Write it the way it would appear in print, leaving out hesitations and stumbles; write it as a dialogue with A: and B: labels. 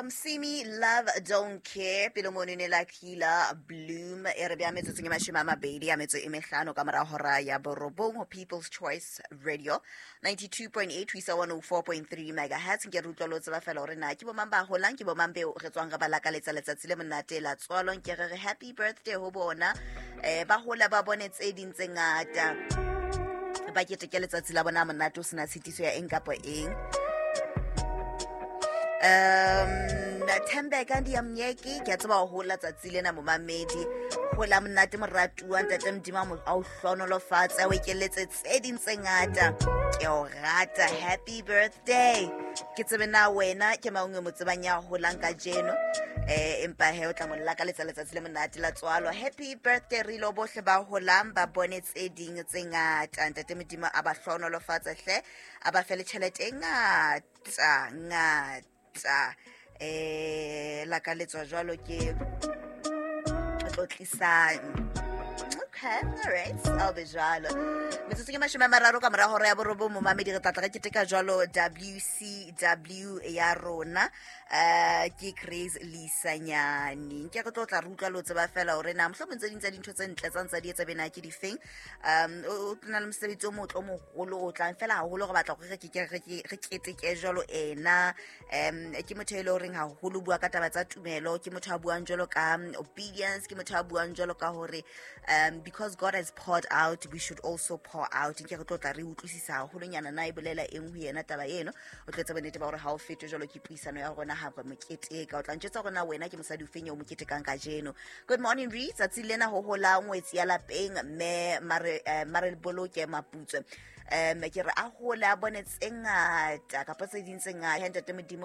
A: Simi Love Don't Care pele mono ne la Kila Bloom e re bea metsotsong e 25 ka mora hora ya borobong ho People's Choice Radio 92.8 ho isa 104.3 megahertz. Nke re utlwa le o tseba fela hore na ke bomang ba holang, ke bomang beo re tswang re ba lakaletsa letsatsi le monate la tswalo. Nke re re happy birthday ho bona, ba hola ba bone tse ding tse ngata, ba keteke letsatsi la bona monate o sena tshitiso ya eng kapa eng. Thembeka ndi ya mnyeki, ke a tseba ho hola tsatsi lena momamedi, hola monate moratuwa, ntate Modimo a o hlohonolofatse, a o ekeletse tse ding tse ngata. Ke o rata, happy birthday. Ke tsebe na wena ke mang o mo tsebang ya holang kajeno, empa he o tla mo lakaletsa letsatsi le monate la tswalo. Happy birthday re ilo bohle ba holang ba bone tse ding tse ngata. Ntate Modimo a ba hlohonolofatse hle, a ba fe le tjhelete e ngata ngata. Lakaletswa jwalo ke tlotlisang. Okay, all right, I'll be jwalo. Metsotso ke 30 ka mora hora ya borobong momamedi, re tlatla re keteka jwalo WCW ya rona. Ke Grace Lisanyane. Nke re tlo tla re utlwa le o tseba fela hore na mohlomong tse ding tsa dintho tse ntle tsa ntsa di etsa bena ke difeng. O na le mosebetsi o motle o moholo o tlang fela haholo, re batla hore re ke re keteke jwalo ena. Ke motho e leng horeng haholo bua ka taba tsa tumelo, ke motho a buang jwalo ka obedience, ke motho a buang jwalo ka hore because God has poured out, we should also pour out. Nke re tlo tla re utlwisisa haholonyana na e bolela eng ho yena taba eno. O tlo etsa bonnete ba hore ha o fetwe jwalo ke puisano ya rona ha re moketeka. O tla ntjwetsa hore na wena ke mosadi ofeng eo moketekang kajeno. Good morning re tsatsi lena ho hola ngwetsi ya lapeng mme mare boloke maputswe. Ke re a hole a bone tse ngata kapa tse ding tse ngata. Ntate Modimo